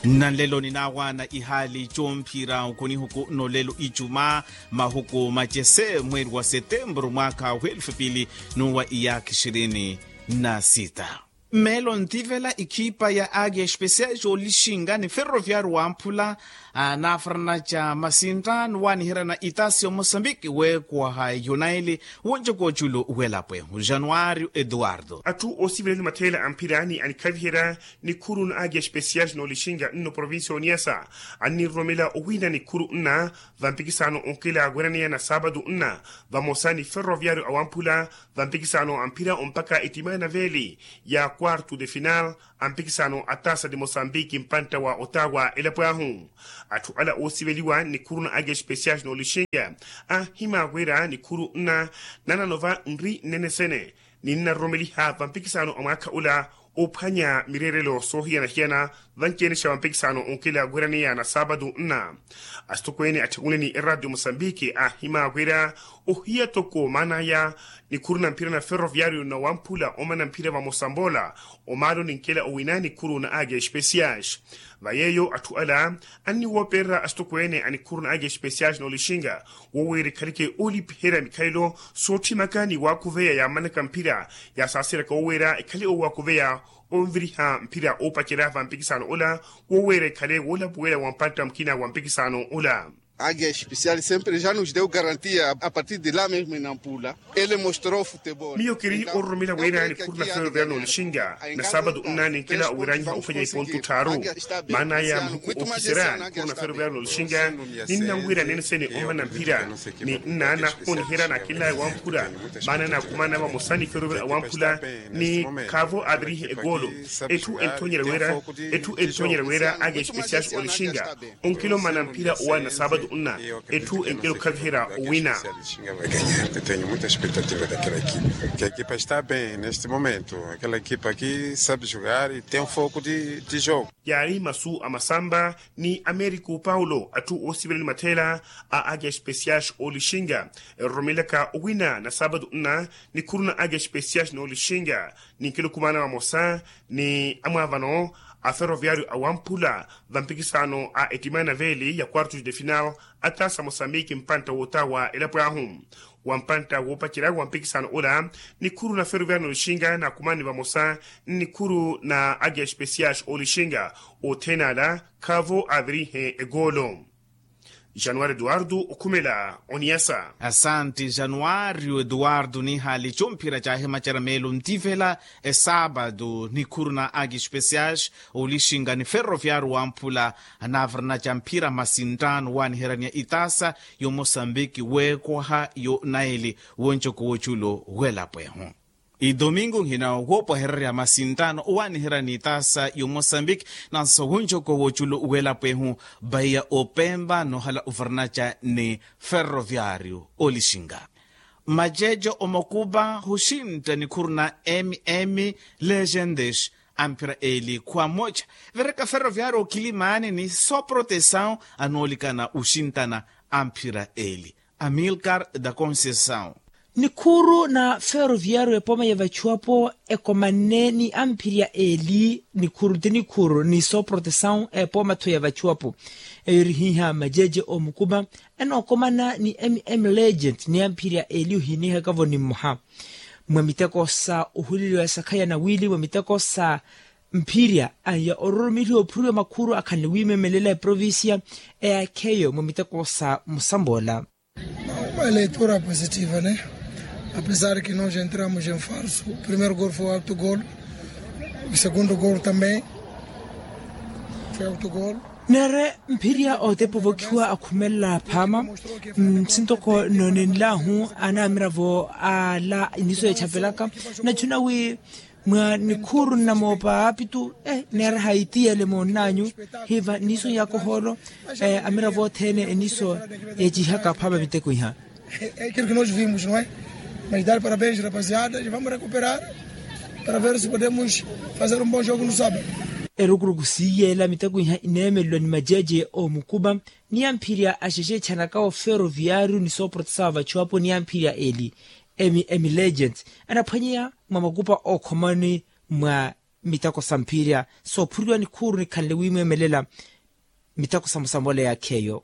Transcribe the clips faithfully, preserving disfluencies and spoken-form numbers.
Nnanlelo ninaawaana ihaali comphira nkunihuku n'olelo icuma, mahuku macese mweeri wa setemburu mwaakha w'elufu pili n'uwa iyaakha ixirini na sita. Mmeelo ntivela ikhipa ya agi especial joolixinga ni ferroviario wamphula, naafurana ca masintta nuwaaniherana itasi ya mosambiki weekuwaha yunaili, wonjoko oculu w'elapo ehu januario eduardo. Atthu oosivelani matheela a mphira ni anikhaviherya nikhuru na agi especial n'olixinga nno provincia y'oniasa, anninroromela owina nikhuru nna vampikisano onkela weraneya na saapatu nna, vamosa ni ferroviario awamphula, vampikisano a mphira ompakha ettima ya naveeli ya quarto de final a mpikisano a tasa de mosambiki mpantta wa otawa elapo ahu. Atthu ala oosiveliwa nikhuru na agi especial n'olixinga, ahimaakwera nikhuru nna nananova nri nnene sene, ninnaroromeliha vampikisano a mwaakha ula, ophwanya mireerelo soohiyana-hiyana, vanci-ene xa vampikisano onkela weraneya na saapatu nna. Asitokweene atthekule ni eradio mosambiki ahimaakwera, ohiya toko maan'aya nikhuru na mphira na ferroviario na wamphula omana mphira vamosa mboola, omaalo ninkela owina nikhuru na agi especial. Va yeeyo atthu ala anniwoopererya asitokweene a nikhuru na agi especial n'olixinga, woweera ekhaleke oolipiherya mikhalelo sootthimaka ni waakhuveya yaamanaka mphira, yaasaaseryaka woweera ekhale owaakuveya onviriha mphira oopacerya vampikisano ola, woweera ekhale woolapuwela wa mpantta mukina wa mpikisano ola. Agi especial sempre ja nos deu garantia a partir de la mesma inampula. Ele mostrou futebol. Miyo kiri ororomela wira nikhuru na ferroviario n'olixinga, na saapatu nna ninkela owiranyiha ofanya ipontu tthaaru. Maan'aya mahuku okiserya nikhuru na ferroviario n'olixinga, ninnanwira nene sene omana mphira, ni nna nahoniherya na akinlaya wamphula, maana naakhumana vamosa ni ferroviario awamphula, ni khaavo aavirihe egoolo. Etthu enthoonyerya wira, etthu enthoonyerya wira agi especial olixinga, onkela omana mphira owaana saapatu nna, etthu enkela okhaviherya owina. Tenho muita expectativa daquela equipa. Que a equipa está bem neste momento, aquela equipa aqui sabe jogar e tem um foco de jogo. Yaari masu a masamba ni americo paulo atthu oosivelani matheela a agi especial olixinga, eroromelaka owina na saapatu nna, nikhuru na agi especial n'olixinga, ninkela okhumaana vamosa ni amwaavano a ferroviario awamphula, vampikisano a ettima ya naveeli ya quartos de final a tasa mosambiki mpantta wootawa elapo ahu. Wa mpantta woopacerya wa mpikisano ola, nikhuru na ferroviario n'olixinga naakhumani vamosa, nnikhuru na agi especial olixinga, othene ala khaavo aavirihe egoolo. Januari eduardo okhumela oniasa. Asanti januario eduardo nihaali comphira caahimacerya meelo ntivela, esaapatu nikhuru na agi especial olixinga ni ferroviario wamphula, anaavarana ca mphira masinttaano owaaniheryaniya itasa y'omosambiki weekwaha yo naili, woncoko woculo w'elapo ehu. Idomingo nhina woopwahererya masinttaano owaaniherya n'itaasa y'omosambiki, nanso wunjoko w'oculo w'elapo ehu, bahiya opempa noohala ovaranaca ni ferroviario olixinka. Maceeco omokupa huxintta nikhuru na mm legends, amphira eli khwamoca. Vereka ferroviario okilimaani ni soprotesaw, anoolikana uxinttana amphira eli. Amilcar da conceisaw. Nikhuru na ferroviario epooma ya vachuwapo ekomanne ni amphirya eli nikhuru ti nikhuru ni soprotesaw epooma tho ya vachuwapo. Eyo eri hiiha majeje omukupa enookomana ni mm legend ni amphirya eli ohiinihaka-vo ni mmoha mwa miteko sa ohuleliwa ya sakhaya na wiili mwa miteko sa mphirya aya ororomeliha ophuriwa makhuru akhanle wiimemelela eprovincia eyaakheyo mwa miteko sa musamboola. Uma leitura positiva ne, apesar ki nos entramos em falso, primeiro gol foi auto gol, o segundo gol também foi auto gol. Neere mphirya otepa ovokhiwa akhumelela phaama nsintoko noonenlahu anamiravo ala iniso echapelaka. Nachuna wi mwa nikhuru nnamoopa aapitu neera haitiyele moonnanyu hiva niso yakohoolo amiravo othene eniso yacihaka phaama miteko iha. Ekiro kinosi vimos no e mas dar parabens rapaziada e vamos recuperar para ver si podemos fazer um bom jogo no sabado. Erukuruku siiyela miteko iha ineemelelwa ni majeje omukupa ni amphirya axexeetxanaka oferoviario ni sooprotesa wa vachuwapo ni amphirya eli emi emi legends anaphwanyeya mwa makupa ookhomani mwa Miteko sa mphirya soophuriwa nikhuru nikhanle wimwemelela. Miteko sa musambola yaakheyo.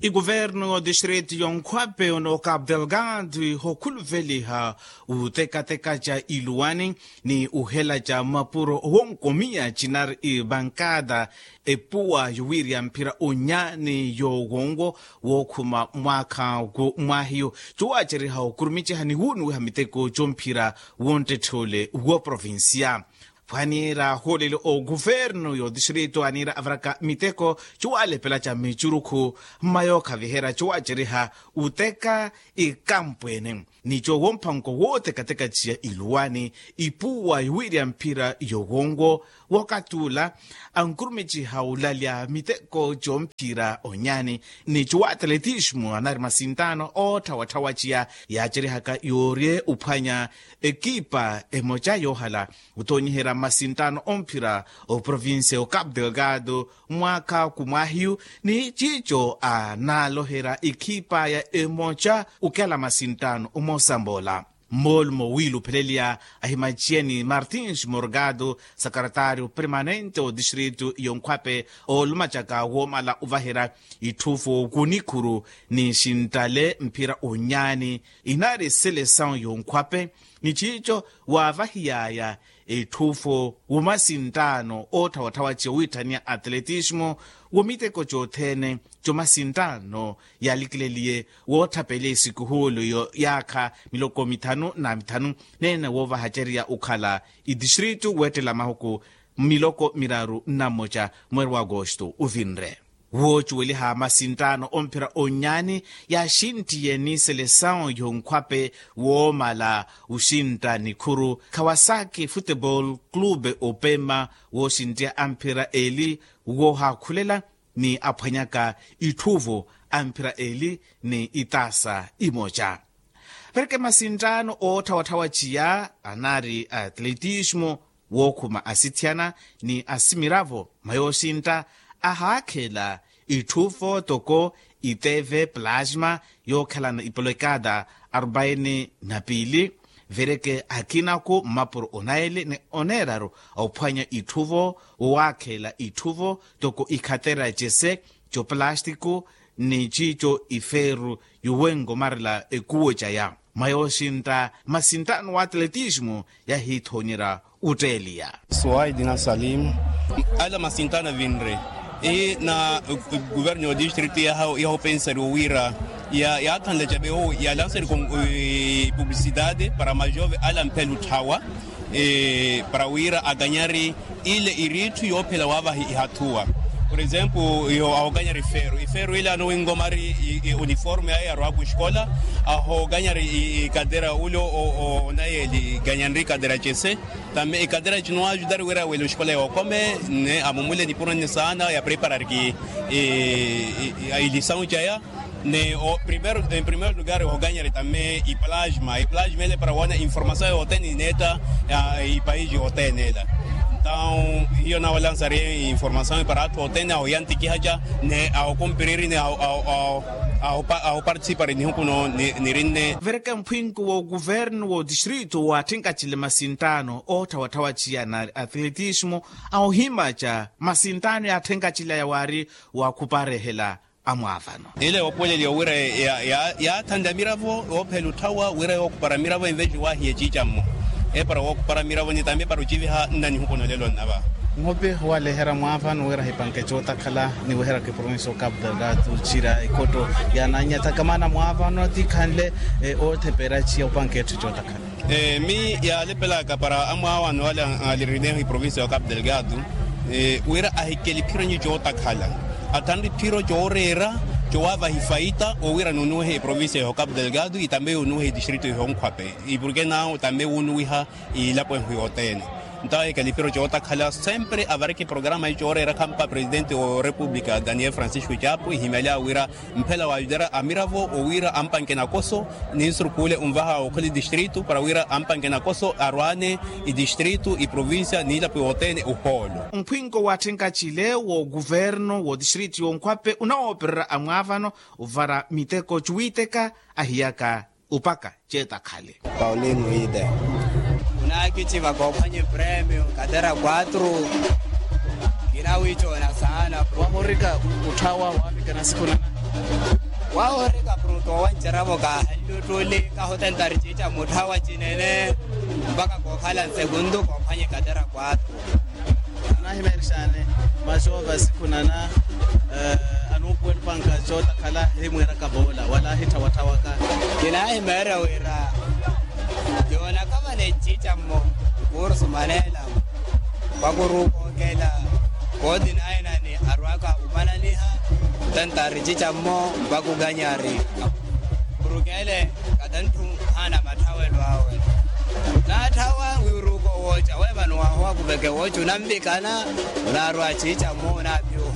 Ikuvernu y'odistritu y'onkhwape ono cabo delgado ihokhuluveliha utekateka ca iluwani ni uhela ca mapuro wonkomiya cinari ibankada epuwa yowiirya mphira onyani yowonwo wookhuma mwaakha ku mwahiyo. Cuwaaceriha okurumiciha ni wunuwiha miteko comphira wonttetthe ole wo provincia. Phwaniira hooleli oguvernu y'otistrito aniira avaraka miteko cuwalepela ca micurukhu mma yookhaviherya cuwaaceriha uteka ikampwene ni cowomphanko wootekateka ciya iluwani ipuwa yowiirya mphira yowonwo. Wokatula ankurumiciha ulalya miteko comphira onyani ni cuwa atletismo anari masintaano ootthawatthawa ciya yaacerihaka yoorye uphwanya ekipa emoca yoohala otoonyiherya masintaano omphira oprovincia o cabo delgado mwaakha kumwahiyu ni ciico anaaloherya ekipa ya emoca. Okela masintaano omosambola mmoolumo wiilupheleliya ahimaciyeni martins morgado sakarataario permanente otistritu yonkhwape oolumacaka woomala ovaherya itthuvo kunikhuru ni xintale mphira onyaani inari selesawu yonkhwape ni ciico waavahiyaya etthuvo womasintaano ootthawatthawa ciya owiitthaniya atletismo womiteko cothene comasintaano yaalikileliye wootthapelela esikuhuulu iyo yaakha miloko mithanu na mithanu neene woovahacerya okhala itistritu weettela mahuku miloko miraru na mmoca mweeri wa agosto ovinre. Woocuweliha masintaano omphira onyaani yaaxinttiye ni selesawu yonkhwape woomala oxintta nikhuru kawasaki futebol clube opema wooxinttiya amphira eeli woohaakhulela ni aphwanyaka itthuvo amphira eeli ni itaasa imoca. Pereke masintaano ootthawatthawa ciya anari atletismo wookhuma asithiyana ni asimiravo mwa yooxintta ahaakhela itthuvo toko iteve plasma yookhalana ipolekada arubaini na piili vereke akinaku mmapuro onaili ni oneeraru ophwanya itthuvo wowaakhela itthuvo toko ikhatera cese coplástico ni ciico ifeeru yowenkomarela ekuwo caya mwa yooxintta masintaano wa atletismo yahiithoonyerya otteeliya. Suwaidi na salimu ala masintaano avinre na guvernu yo distritu yaha yahopensari owiira yaathanle cabe owo yalansari publicidade para majove ala mphelu thawa para wira aganyari ile iritthu yoophela waavahi ihathuwa. Por exemplo, iho ahoganyari ifeeru ifeeru ile anowinkomari uniforme aye arwaku escola ahoganyari ikadera ule onayeli ganyanri ikadera cese. Tambe ikadera cino ajudari wira wele escola yookome ne amumule nipuro nne saana yapreparariki ilisawu caya. Ne o primeiro em primeiro lugar ohoganyari tambe iplasma iplasma ele para wana informasawu yothene ineetta ipaiji othene ela. Ntau hiyo nawalansari informasawu para atthu othene ahoyantikihaca ne ahokumpiriri ne ahopartisipari nihukuno nirinne. Vereke mphwinko wo guvernu wo distritu waatthenkacile masintaano ootthawatthawa ciya na atletismo ahohimaca masintaano yaatthenkacileya waari wakhuparehela amwaavano. Ile yoopweleliwa wira yaathanle amiravo yoophela otthawa wira yookhupara amiravo enveji waahiye ciicammo epara wookhupara amiravo ni tambi epara ociviha nna nihukuno lelo nnava. Nhopi waleherya mwaavano wira hipanke cootakhala ni weheraka eprovinsi o cabo delgado cira ekhotto yananyathaka maana mwaavano tikhanle oothepera ciya opanke etthu cootakhala. Mi yaalepelaka para amwaawano ale alirineho iprovincia ya cabo delgado wira ahikele iphiro nyi cootakhala athanre iphiro cooreera cowaavaha ifaita owira nunuwehe iprovincia ya cabo delgado itambe yunuwehe idistrito ihonkhwape. Ipurke nawo tambe wunuwiha ilapo ehu yothene. Nto ahikele iphiro cootakhala sempre avareke programa yi cooreera khampa presidente wa república daniel francisco chapo ihimyalya wira mphela waajudara amiravo owiira ampanke nakoso ni nsurukhuule onvaha okhola idistritu para wiira ampanke nakoso arwaane idistritu iprovincia niilapo yothene ohoolo. Mphwinko waatthenka cile wo guvernu wo distritu yonkhwape onawoopererya amwaavano ovara miteko cuwiiteka ahiyaka Upaka ceeta khale. Paulino ide. Khunaakici vakoophwanye premio katera quatro. Kinawiicoona saana. Wahorika utthawa waavikana sikhunana. Wahorika pruto wanceravo kaahanluttuli kahotentari ciica mutthawa cinene. Mpaka kookhala nsekuntu koophwanye katera quatro. Anaahimeerixaani maxoova sikhunana. Anuupuwela opanka cootakhala himwiiraka voola wala ahitthawatthawa ka. Kinaahimeerya wira yoonaka vale nciicammo kuurusu maneela. Vakuruuka okeela kooti naye nani arwaaka umananiha. Tantari nciicammo vakukanyari. Kurukeele katantthu haana matthawelo awe. Naatthawa wiiruuka owooca weemano wahowa kuveke wooca onamvikana. Onaarwa ciica mmo onaapiwa.